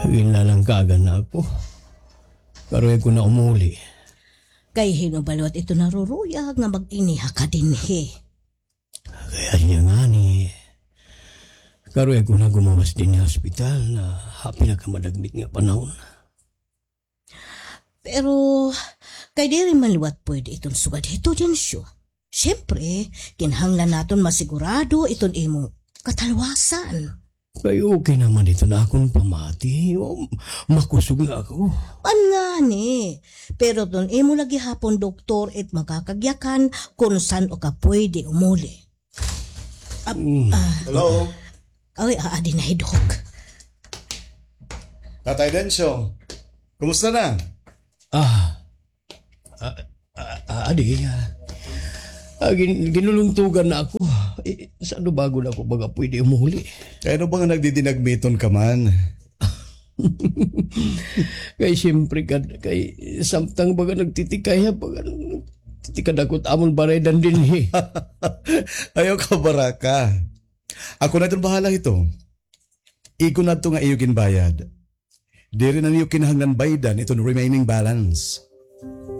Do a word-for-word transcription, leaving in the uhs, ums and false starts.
Ginlalangkagan na ako. Karuyag ko na umuli. Kay hin-o ba liwat ito naruruyag nga mag-iniha ka dinhi? Kay ania ngani, karuyag ko na gumawas dinhi ha ospital ha pinakamadagmit nga panahon. Pero, kay diri man liwat pwede iton sugad hito, Dencio. Siyempre, kinahanglan naton masigurado iton imo katalwasan. Kay okay naman iton akon pamati. O, makusog na ako. An ngani. Pero iton imo la gihapon doktor it makakagyakan kon san-o ka pwede umuli. Ap-, Mm. ah, Hello? Ay, aadi na hi Doc. Tatay Dencio, kumusta na? Ah, ah, ah, ah, adi, ah, ah, gin-, ginulungtugan na ako. Eh, san-o ba gud ako baga pwede umuli? Kay ano ba nga nagdidinagmiton ka man? Kay siyempre kad, kay samtang baga nagtitikay ha, baga nagtitikad ako it amon baraydan dinhi. Ayaw kabaraka. Ako na iton bahala hito. Igo na adto nga iyo ginbayad. Diri na niyo kinahanglan baydan iton remaining balance.